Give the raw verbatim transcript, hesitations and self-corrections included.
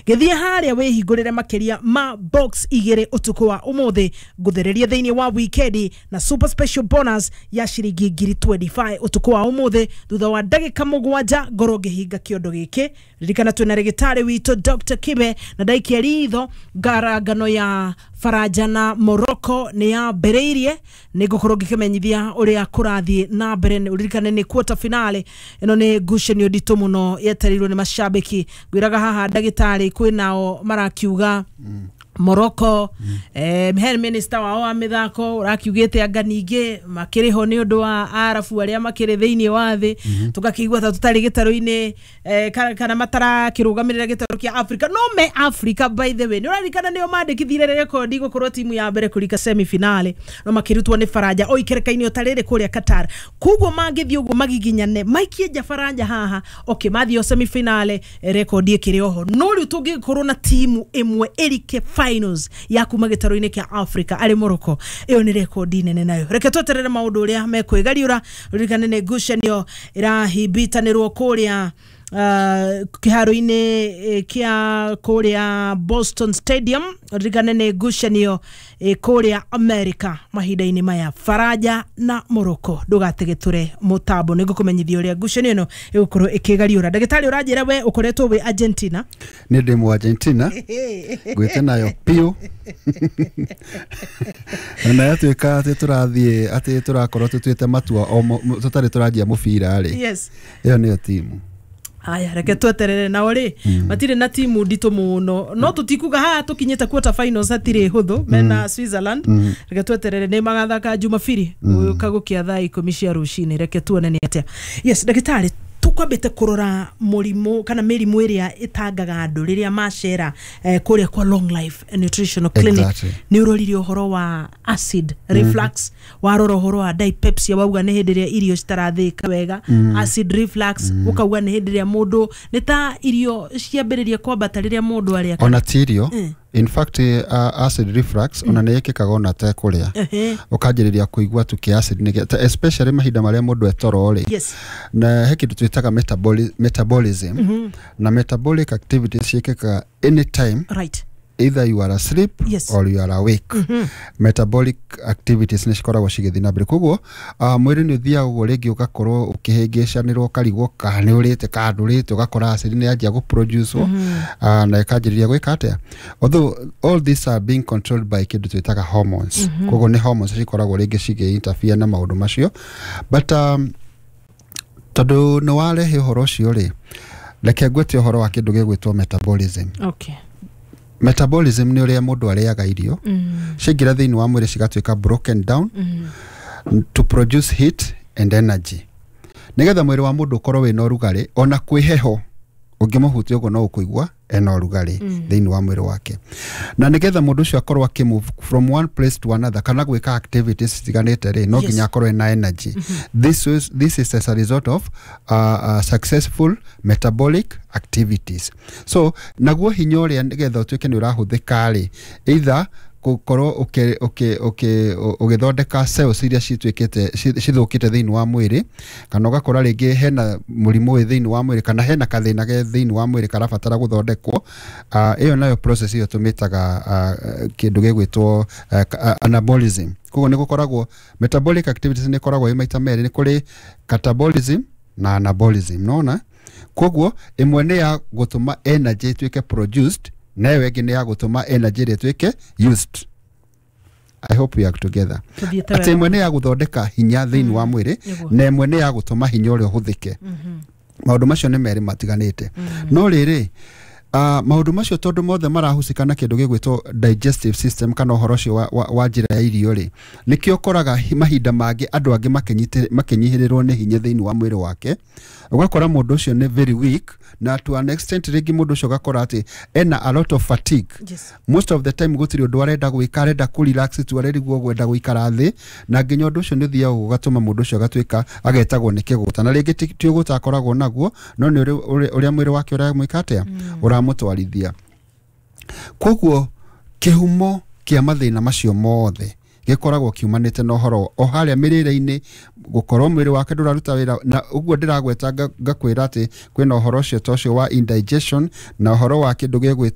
Gĩthiĩ harĩa wĩhingũrĩre makĩria ma box igĩrĩ ũtukũ wa ũmũthĩ, ngũthereria thĩinĩ wa wikendi na super special bonus ya ciringi ngiri mĩrongo ĩĩrĩ na ithano ũtukũ wa ũmũthĩ thutha wa ndagĩka mũgwanja ngorwo ngĩhinga kĩondo gĩkĩ. Ririkana twĩna rĩgĩtarĩ witũ Doctor Kibe, na ndaikia ritho ngarangano ya Faranja na Morocco nĩ yambĩrĩirie. Nĩ ngũkorwo ngĩkĩmenyithia ũrĩa kũrathiĩ na mbere. Ũririkane nĩ quarter finale, ĩno nĩ ngucanio nditũ mũno yetereirwo nĩ macambĩki. Ngwĩraga haha ndagĩtarĩ kwĩnao marakiuga Morocco mm. eh, he minister wao wa mĩthako ũrakiugĩte anga ningĩ makĩrĩ ho nĩ ũndũ wa arabu arĩa makĩrĩ thĩinĩ wa thĩ mm -hmm. Tũgakĩigua ta tũtarĩ gĩtarũ-inĩ eh, kana, kana matarakĩrũgamĩrĩra gĩtarũ kĩa Africa, no me Africa. By the way, nĩ ũraririkana nĩo mandĩkithire rekondi gũkorwo timu ya mbere kũrika semifinale, no makĩrutwo nĩ Faranja o ikereka-inĩ o ta rĩrĩ kũrĩa Qatar. Koguo mangĩthiĩ ũguo magiginyane maikie nja Faranja haha, okay, mathiĩ o semifinale, eh, rekondi ĩkĩrĩ oho. No rĩu tũngĩkorwo na timu ĩmwe ĩrike finals ya kuma gĩtarũ-inĩ kĩa Africa arĩ Morocco, ĩyo nĩ rekondi nene nayo. Reke tweterere maũndũ ũrĩa mekwĩgariũra. Ririkane nĩ ngucanio ĩrahimbitanĩrwo kũrĩa uh, kĩharo-inĩ eh, kĩa kũrĩa Boston Stadium. Ririkane nĩ ngucanio eh, kũrĩa America mahinda-inĩ maya, Faranja na Morocco. Ndũgategetũre mũtambo, nĩ ngũkũmenyithia ũrĩa ngucanio ĩno ĩgũkorwo ĩkĩgariũra. Ndagĩtarĩ, ũranjĩra we ũkoretwo wĩ Argentina? Nĩ ndĩ mu Argentina, ngwĩte nayo piũ, na yatuĩka atĩ tũrathiĩ atĩ tũrakorwo tũtuĩte matua o mo- tũtarĩ tũranjia mũbira rĩ, yes ĩyo nĩyo timu. Aya, reke tweterere. Nao rĩ matirĩ na timu nditũ mũno, no tũtikuga haha tũkinyĩte quarter finals hatirĩ hũthũ mena Switzerland. Reke tweterere, nĩ magathaka Jumabiri gũka gũkĩa thaa ikũmi cia rũcinĩ. Reke tuone nĩ atĩa. Yes, ndagĩtarĩ, tũkwambĩte kũrora mũrimũ kana mĩrimũ ĩrĩa ĩtangaga andũ rĩrĩa macera eh, kũrĩa kwa Long Life Nutritional Clinic. Exactly. Nĩ ũrorire ũhoro wa acid reflux, warora ũhoro wa dyspepsia, wauga nĩ hĩndĩ ĩrĩa irio citarathĩĩka wega. Acid reflux ũkauga nĩ hĩndĩ ĩrĩa mũndũ nĩ ta irio ciambĩrĩria kwambata rĩrĩa mũndũ arĩa. Ona ti irio. Mm. In fact, uh, acid reflux ona nĩ ĩkĩkaga ona tekũrĩa. Ehe. Ũkanjĩrĩria kũigua tu kĩ acid nĩ ta- especially mahinda marĩa mũndũ etoro rĩ. Yes na he kĩndũ twĩtaga metaboli, metabolism na metabolic activities ciĩkĩkaga anytime, right either you are asleep Yes. or you are awake. Metabolic activities nĩ cikoragwo cigĩthiĩ na mbere. Koguo uh, mwĩrĩ nĩ ũthiaga ũguo, rĩngĩ ũgakorwo ũkĩhĩngĩcanĩrwo, ũkarigwo kana nĩ ũrĩte kana ndũrĩte, ũgakora acid nĩ yanjia gũproduce uh, na ĩkanjĩrĩria gwĩka atĩa. Although all these are being controlled by kĩndũ twĩtaga hormones. Koguo nĩ hormones cikoragwo rĩngĩ cigĩ interfere na maũndũ macio. But um, tondũ nĩ warehe ũhoro ũcio rĩ, reke ngwĩte ũhoro wa kĩndũ gĩgwĩtwo metabolism. Okay metabolism nĩ ũrĩa mũndũ arĩaga irio, mm. ciaingĩra thĩinĩ wa mwĩrĩ cigatuĩka broken down Mm. to produce heat and energy, nĩgetha mwĩrĩ wa mũndũ ũkorwo wĩna ũrugarĩ. Ona kwĩ heho, ũngĩmũhutia ũguo no ũkũigua ena ũrugarĩ Mm. thĩinĩ wa mwĩrĩ wake. Na nĩgetha mũndũ ũcio akorwo akĩmove from one place to another kana gwĩka activities citiganĩte rĩ, no Yes. nginya akorwo ena energy. this is, this is as a result of uh, uh, successful metabolic activities. So naguo hinya ũrĩa nĩgetha ũtuĩke nĩ ũrahũthĩka rĩ, either gũkorwo ũkĩ- ũkĩ- ũkĩ- ũgĩthondeka cells iria cituĩkĩte ci- cithũkĩte thĩinĩ wa mwĩrĩ, kana ũgakora rĩngĩ hena mũrimũ wĩ thĩinĩ wa mwĩrĩ, kana hena kathĩna ge thĩinĩ wa mwĩrĩ karabatara gũthondekwo. uh, ĩyo nayo process ĩyo tũmĩtaga uh, kĩndũ gĩgwĩtwo uh, anabolism. Koguo nĩ gũkoragwo metabolic activities, nĩ ĩkoragwo ĩ maita merĩ: nĩ kũrĩ catabolism na anabolism. Nona koguo ĩmwe nĩ ya gũtũma energy ĩtuĩke produced, na ĩyo ĩngĩ nĩ ya gũtũma energy ĩrĩa ĩtuĩke used. I hope we are together. Tũthiĩte atĩ wega. Ĩmwe nĩ ya gũthondeka hinya thĩinĩ wa mwĩrĩ, Nĩguo. na ĩmwe nĩ ya gũtũma hinya ũrĩa ũhũthĩke. Maũndũ macio nĩ merĩ matiganĩte. No rĩrĩ, uh, maũndũ macio tondũ mothe marahusika na kĩndũ gĩgwĩtwo digestive system kana ũhoro ũcio wa, wa, wa njĩra ya irio rĩ, nĩkĩo ũkoraga hi- mahinda mangĩ andũ angĩ makĩnyitĩ- makĩnyihĩrĩrwo nĩ hinya thĩinĩ wa mwĩrĩ wake. Ũgakora mũndũ ũcio nĩ very weak, na to an extent rĩngĩ mũndũ ũcio ũgakora atĩ ena a lot of fatigue. Yes. Most of the time gũtirĩ ũndũ arenda gwĩka, arenda kũ relax tu, arerigwo gwenda gũikara thĩ. Na nginya ũndũ ũcio nĩ ũthiaga ũgatũma mũndũ ũcio agatuĩka agetagwo nĩ kĩgũta, na rĩngĩ ti ti ũgũta akoragwo naguo, no nĩ ũrĩa- ũrĩa ũrĩa mwĩrĩ wake ũramwĩka atĩa, ũramũtwarithia. Koguo kĩhumo kĩa mathĩna macio mothe gĩkoragwo kiumanĩte na ũhoro o harĩa mĩrĩre-inĩ, gũkorwo mwĩrĩ wake ndũraruta wĩra. Na ũguo ndĩragweta nga- ngakwĩra atĩ kwĩna ũhoro ũcio ta ũcio wa indigestion na ũhoro wa kĩndũ gĩgwĩtwo